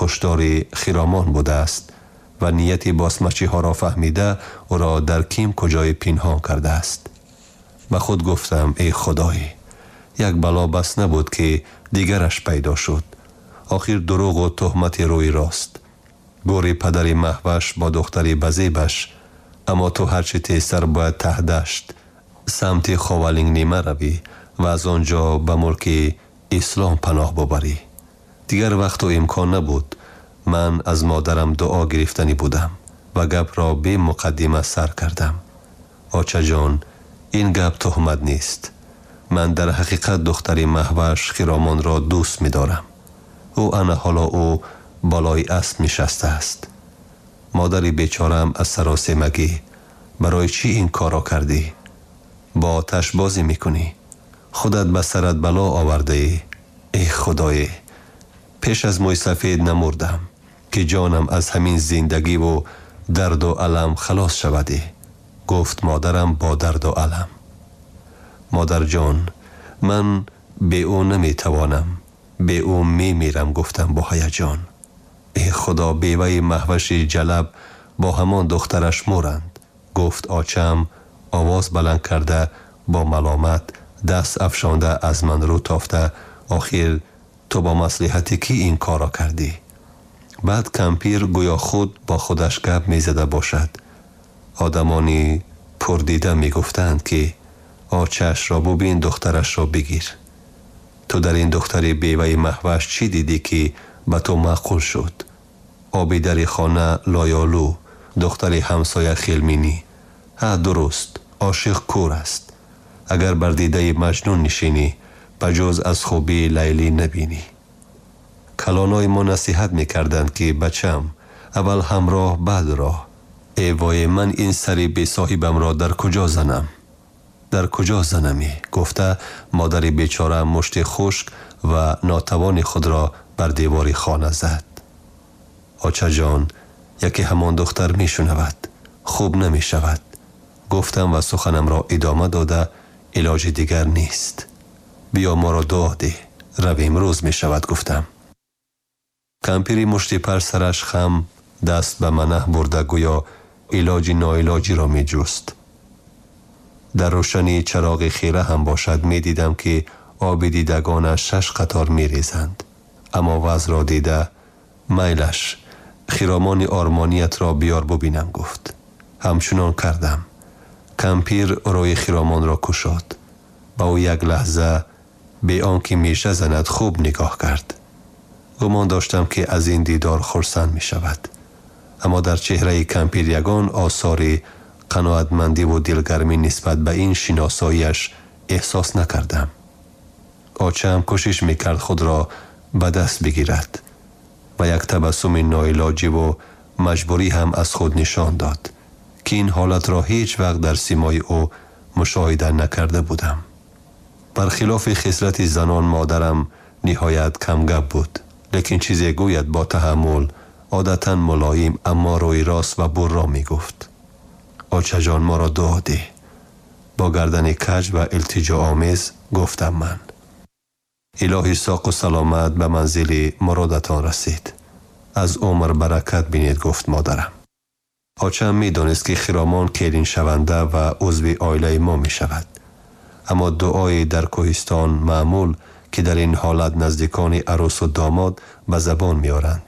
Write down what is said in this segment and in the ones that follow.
хушдори Хиромон будааст ва нияти босмачиҳоро фаҳмида ӯро дар ким куҷое пинҳон кардааст. Ба худ гуфтам: эй Худой, як бало бас набуд, ки дигараш пайдо шуд. Охир дурӯғу туҳмати рӯи рост. Гӯри падари Маҳваш бо духтари базебаш. Аммо ту ҳарчи тезтар бояд Таҳдашт самти Ховалингнима равӣ ва аз он ҷо ба мулки ислом паноҳ бубарӣ. Дигар вақту имкон набуд. Ман аз модарам дуо гирифтанӣ будам ва гапро бемуқаддима сар кардам. Очаҷон, ин гап туҳмат нест. Ман дар ҳақиқат духтари Маҳваш Хиромонро дӯст медорам. Ӯ ана ҳоло ӯ болои асп нишастааст. Модари бечораам аз саросемагӣ: барои чӣ ин корро кардӣ? Бо оташ бозӣ мекунӣ. Худат ба сарат бало овардаӣ. Эй Худое, пеш аз мӯйсафед намурдам, ки ҷонам аз ҳамин зиндагиву дарду алам халос шавадӣ, гуфт модарам бо дарду алам. Модарҷон, ман бе ӯ наметавонам, бе ӯ мемирам, гуфтам бо ҳаяҷон. Эй Худо, беваи Маҳваши ҷалаб бо ҳамон духтараш муранд, гуфт очам, овоз баланд карда бо маломат, даст афшонда аз ман рӯ тофта: охир ту бо маслиҳати кӣ ин корро кардӣ? Баъд кампир гӯё худ бо худаш гап мезада бошад. Одамони пурдида мегуфтанд, ки очаашро бубин, духтарашро бигир. Ту дар ин духтари беваи Маҳваш чӣ дидӣ, ки ба ту маъқул шуд? Оби дари хона лоёлӯ, духтари ҳамсоя хелминӣ. Ҳа, дуруст, ошиқ кӯр аст. Агар бар дидаи Маҷнун нишинӣ, ба ҷуз аз хубии Лайлӣ набинӣ. Калонои мо насиҳат мекарданд, ки бачам, аввал ҳамроҳ, баъд роҳ. Э вое, ман ин сари бесоҳибамро дар куҷо занам? Дар куҷо занамӣ? Гуфта модари бечора мушти хушк ва нотавони худро бар девори хона зад. Очаҷон, яке ҳамон духтар мешунавад, хуб намешавад, гуфтам ва суханамро идома дода: илоҷи дигар нест. Биё, моро дуо деҳ, равем, рӯз мешавад, гуфтам. Кампири мушти пар сараш хам, даст ба манаҳ бурда, гӯё илоҷи ноилоҷиро меҷуст. Дар рӯшании чароғи хира ҳам бошад, медидам, ки оби дидагонаш шаш қатор мерезанд. Аммо вазъро дида: майлаш, Хиромони ормониятро биёр, бубинам, гуфт. Ҳамчунон кардам. Кампир рӯи Хиромонро кушод. Ба ӯ як лаҳза бе он ки меша занад хуб нигоҳ кард. Гумон доштам, ки аз ин дидор хурсанд мешавад. Аммо дар чеҳраи кампир ягон осори қаноатмандиву дилгармӣ нисбат ба ин шиносоиаш эҳсос накардам. Очаам кӯшиш мекард худро ба даст бигирад ва як табассуми ноилоҷиву маҷбурӣ ҳам аз худ нишон дод, ки ин ҳолатро ҳеҷ вақт дар симои ӯ мушоҳида накарда будам. Бархилофи хислати занон, модарам ниҳоят камгап буд, лекин чизе гӯяд, бо таҳаммул, одатан мулоим, аммо рӯи рост ва бурро мегуфт. Очаҷон, моро дуо деҳ, бо гардани каҷ ва илтиҷоомез гуфтам ман. Илоҳи соқу саломат ба манзили муродатон расид. Аз умр баракат бинед, гуфт модарам. Очаам медонист, ки Хиромон келиншаванда ва узви оилаи мо мешавад. Аммо дуои дар кӯҳистон маъмул, ки дар ин ҳолат наздикони арӯсу домод ба забон меоранд,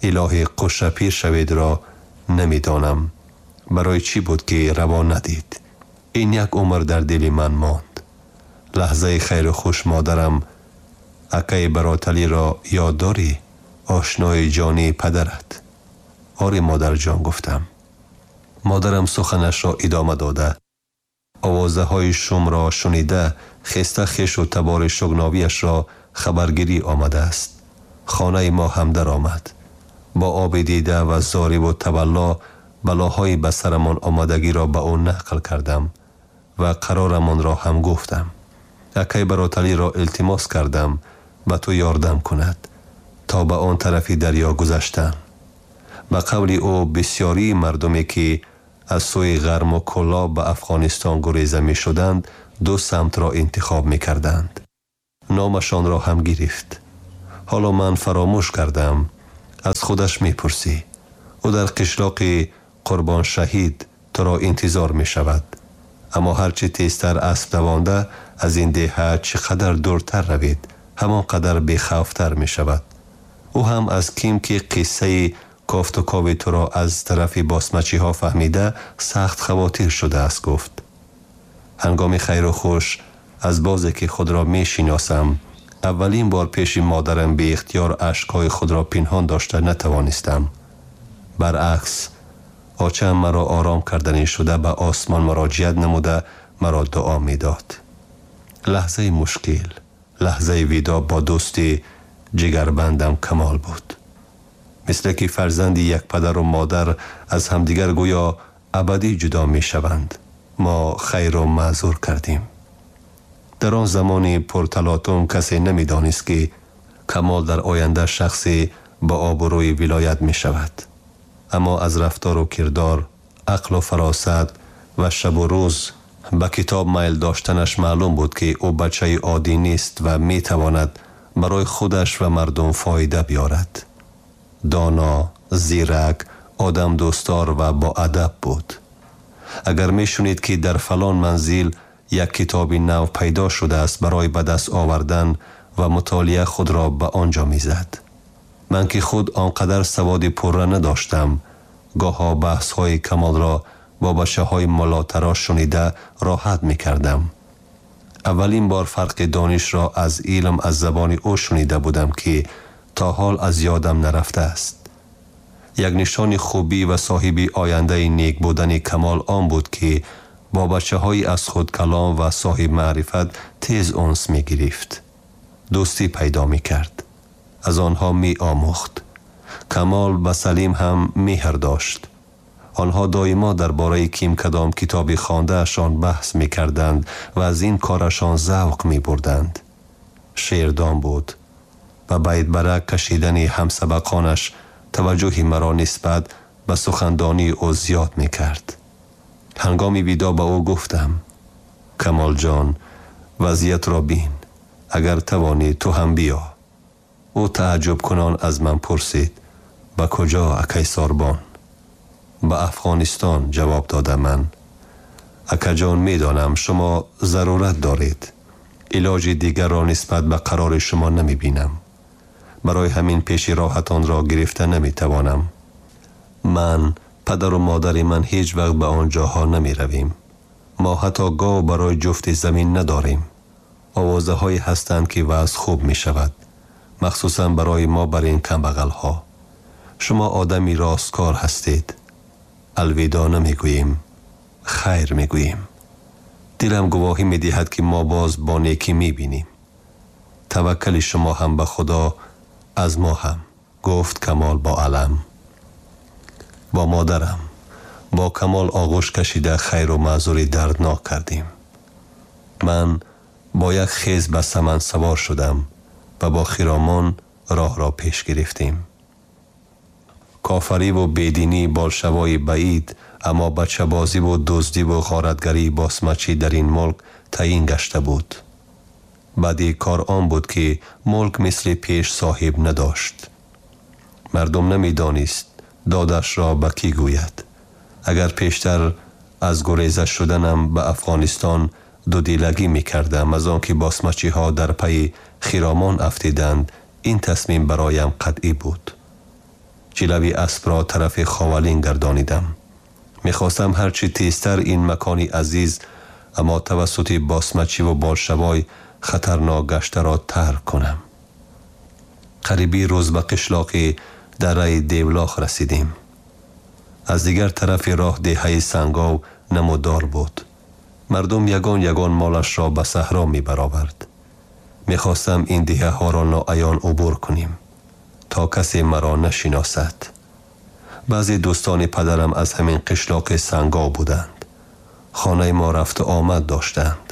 илоҳи қушапир шаведро намедонам барои чӣ буд, ки раво надид. Ин як умр дар дили ман монд. Лаҳзаи хайру хуш модарам: акаи Бароталиро ёд дорӣ, ошнои ҷонии падарат? Оре, модарҷон, гуфтам. Модарам суханашро идома дода: овозаҳои шумро шунида, хеста хешу табори шугновиашро хабаргирӣ омадааст. Хонаи мо ҳам даромад. Бо оби дида ва зориву тавалло балоҳои ба сарамон омадагиро ба ӯ нақл кардам ва қарорамонро ҳам гуфтам. Акай Бароталиро илтимос кардам, ба ту ёрдам кунад то ба он тарафи дарё гузаштан. Ба қавли ӯ, бисёрии мардуме, ки аз сӯи Ғарму Кӯлоб ба Афғонистон гуреза мешуданд, ду самтро интихоб мекарданд. Номашонро ҳам гирифт. Ҳоло ман фаромӯш кардам. Аз худаш мепурсӣ. Ӯ дар қишлоқи Қурбоншаҳид туро интизор мешавад. Аммо ҳарчи тезтар асп давонда аз ин деҳа чӣ қадар дуртар равед, ҳамон қадар бехавфтар мешавад. Ӯ ҳам аз ким ки қиссаи кофтукови туро аз тарафи босмачиҳо фаҳмида сахт хавотир шудааст, гуфт. Ҳангоми хайру хуш аз бозе ки худро мешиносам, аввалин бор пеши модарам беихтиёр ашкҳои худро пинҳон дошта натавонистам. Баръакс, очаам маро ором карданӣ шуда ба осмон муроҷиат намуда маро дуо медод. Лаҳзаи мушкил, лаҳзаи видоъ бо дӯсти ҷигарбандам Камол буд. Мисле ки фарзанди як падару модар аз ҳамдигар гӯё абадӣ ҷудо мешаванд, мо хайру маъзур кардем. Дар он замони пурталотум касе намедонист, ки Камол дар оянда шахсе ба обрӯи вилоят мешавад. Аммо аз рафтору кирдор, ақлу фаросат ва шабу рӯз ба китоб майл доштанаш маълум буд, ки ӯ бачаи оддӣ нест ва метавонад барои худаш ва мардум фоида биёрад. Доно, зирак, одамдӯстдор ва боадаб буд. Агар мешунид, ки дар фалон манзил як китоби нав пайдо шудааст, барои ба даст овардан ва мутолиа худро ба он ҷо мезад. Ман ки худ он қадар саводи пурра надоштам, гоҳо баҳсҳои Камолро бо бачаҳои муллотарош шунида роҳат мекардам. Аввалин бор фарқи донишро аз илм аз забони ӯ шунида будам, ки то ҳол аз ёдам нарафтааст. Як нишони хубӣ ва соҳиби ояндаи нек будани Камол он буд, ки бо бачаҳои аз худ калом ва соҳиб маърифат тез унс мегирифт, дӯстӣ пайдо мекард, аз онҳо меомӯхт. Камол ба Салим ҳам меҳр дошт. Онҳо доимо дар бораи ким кадом китоби хондаашон баҳс мекарданд ва аз ин корашон завқ мебурданд. Шеърдон буд. Ба байтбарак кашидани ҳамсабақонаш таваҷҷӯҳи маро нисбат ба сухандонии ӯ зиёд мекард. Ҳангоми видоъ ба ӯ гуфтам: Камолҷон, вазъиятро бин, агар тавонӣ ту ҳам биё. Ӯ тааҷҷубкунон аз ман пурсид: ба куҷо, акай Сорбон? Ба Афғонистон, ҷавоб дода ман. Акаҷон, медонам шумо зарурат доред. Илоҷи дигарро нисбат ба қарори шумо намебинам. Барои ҳамин пеши роҳатонро гирифта наметавонам. Ман, падару модари ман ҳеҷ вақт ба он ҷоҳо намеравем. Мо ҳатто гов барои ҷуфти замин надорем. Овозаҳое ҳастанд, ки вазъ хуб мешавад, махсусан барои мо бар ин камбағалҳо. Шумо одами росткор ҳастед. Алвидоъ намегӯем, хайр мегӯем. Дилам гувоҳӣ медиҳад, ки мо боз бо некӣ мебинем. Таваккали шумо ҳам ба Худо, аз мо ҳам, гуфт Камол бо алам. Бо модарам бо Камол оғӯш кашида хайру маъзури дарднок кардем. Ман бо як хез ба саман савор шудам ва бо хиромон роҳро пеш гирифтем. Кофариву бединӣ болшавои баид, аммо бачабозиву дуздиву ғоратгарии босмачӣ дар ин мулк таъин гашта буд. Баъди кор он буд, ки мулк мисли пеш соҳиб надошт. Мардум намедонист додашро ба кӣ гӯяд. Агар пештар аз гуреза шуданам ба Афғонистон дудилагӣ мекардам, аз он ки босмачиҳо дар пайи хиромон афтиданд, ин тасмим бароям қатъӣ буд. Ҷилави аспро тарафи Ховалин гардонидам. Мехостам ҳарчи тезтар ин макони азиз, аммо тавассути босмачиву болшавой хатарнок гаштаро тарк кунам. Қариби рӯз ба қишлоқи дараи Девлох расидем. Аз дигар тарафи роҳ деҳаи Сангов намудор буд. Мардум ягон ягон молашро ба саҳро мебаровард. Мехостам ин деҳаҳоро ноаён убур кунем, то касе маро нашиносад. Баъзе дӯстони падарам аз ҳамин қишлоқи Сангов буданд. Хонаи мо рафту омад доштанд.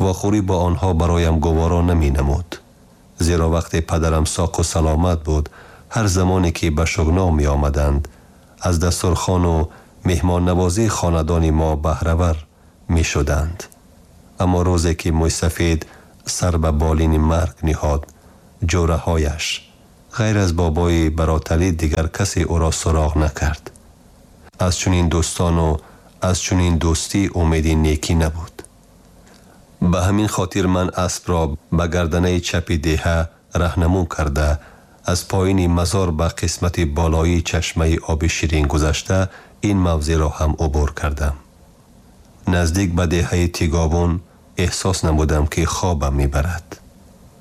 Вохӯрӣ бо онҳо бароям гуворо наменамуд, зеро вақте падарам соқу саломат буд, ҳар замоне ки ба Шугнов меомаданд, аз дастурхону меҳмоннавозии хонадони мо баҳравар мешуданд. Аммо рӯзе ки мӯйсафед сар ба болини марг ниҳод, ҷӯраҳояш, Ғайр аз бобои Бароталӣ дигар касе ӯро суроғ накард. Аз чунин дӯстону аз чунин дӯстӣ умеди некӣ набуд. Ба ҳамин хотир ман аспро ба гарданаи чапи деҳа раҳнамун карда, аз поини мазор ба қисмати болоии чашмаи оби ширин гузашта, ин мавзеъро ҳам убур кардам. Наздик ба деҳаи Тиговун эҳсос намудам, ки хобам мебарад.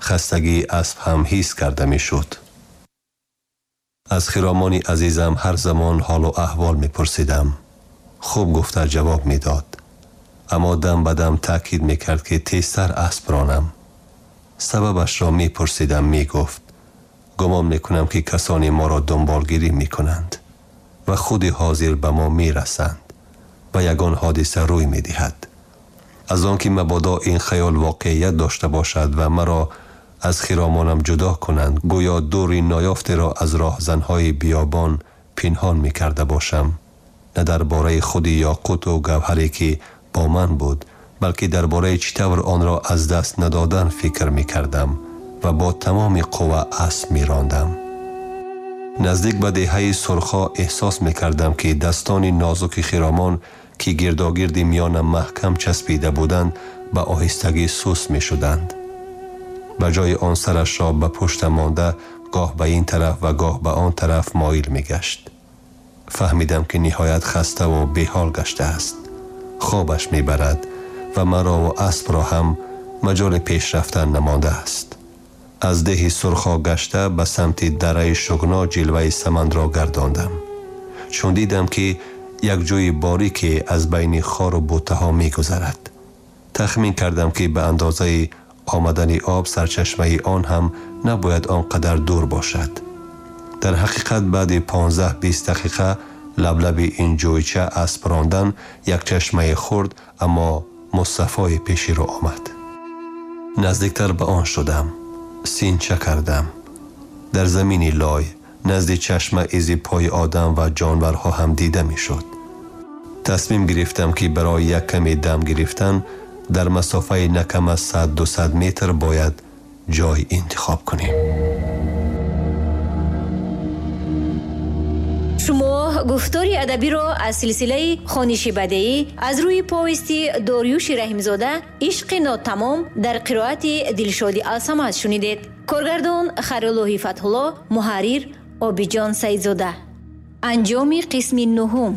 Хастагии асп ҳам ҳис карда мешуд. Аз Хиромони азизам ҳар замон ҳолу аҳвол мепурсидам. Хуб гуфта ҷавоб медод, аммо дам ба дам таъкид мекард, ки тезтар асп ронам. Сабабашро мепурсидам, мегуфт: гумон мекунам, ки касоне моро дунболгирӣ мекунанд ва худи ҳозир ба мо мерасанд ва ягон ҳодиса рӯй медиҳад. Аз он ки мабодо ин хаёл воқеият дошта бошад ва маро аз Хиромонам ҷудо кунанд, гӯё дури ноёфтеро аз роҳзанҳои биёбон пинҳон мекарда бошам, на дар бораи худи ёқуту гавҳаре, ки бо ман буд, балки дар бораи чӣ тавр онро аз даст надодан фикр мекардам ва бо тамоми қувва асп мерондам. Наздик ба деҳаи Сурхо эҳсос мекардам, ки дастони нозуки Хиромон, ки гирдогирди миёнам маҳкам часпида буданд, ба оҳистагӣ суст мешуданд. Ба ҷои он сарашро ба пуштам монда, гоҳ ба ин тараф ва гоҳ ба он тараф моил мегашт. Фаҳмидам, ки ниҳоят хаставу беҳол гаштааст, хобаш мебарад ва марову аспро ҳам маҷоли пеш рафтан намондааст. Аз деҳи Сурхо гашта, ба самти дараи Шугно ҷилваи самандро гардондам, чун дидам, ки як ҷӯи борике аз байни хору бутаҳо мегузарад. Тахмин кардам, ки ба андозаи омадани об сарчашмаи он ҳам набояд он қадар дур бошад. Дар ҳақиқат, баъди 15-20 дақиқа лаблаби ин ҷӯйча асп рондан, як чашмаи хурд, аммо мусаффое пеши рӯ омад. Наздиктар ба он шудам, синча кардам. Дар замини лой назди чашма изи пои одам ва ҷонварҳо ҳам дида мешуд. Тасмим гирифтам, ки барои як каме дам гирифтан дар масофаи на кам аз 100-200 метр бояд ҷой интихоб кунем. Шумо гуфтори адабиро аз силсилаи хониши бадеӣ аз рӯи повести Дориюши Раҳимзода «Ишқи нотамом» дар қироати Дилшоди Алсамад шунидед. Коргардон Хайруллоҳи Фатҳулло, муҳаррир Обиҷон Саидзода. Анҷоми қисми нуҳум.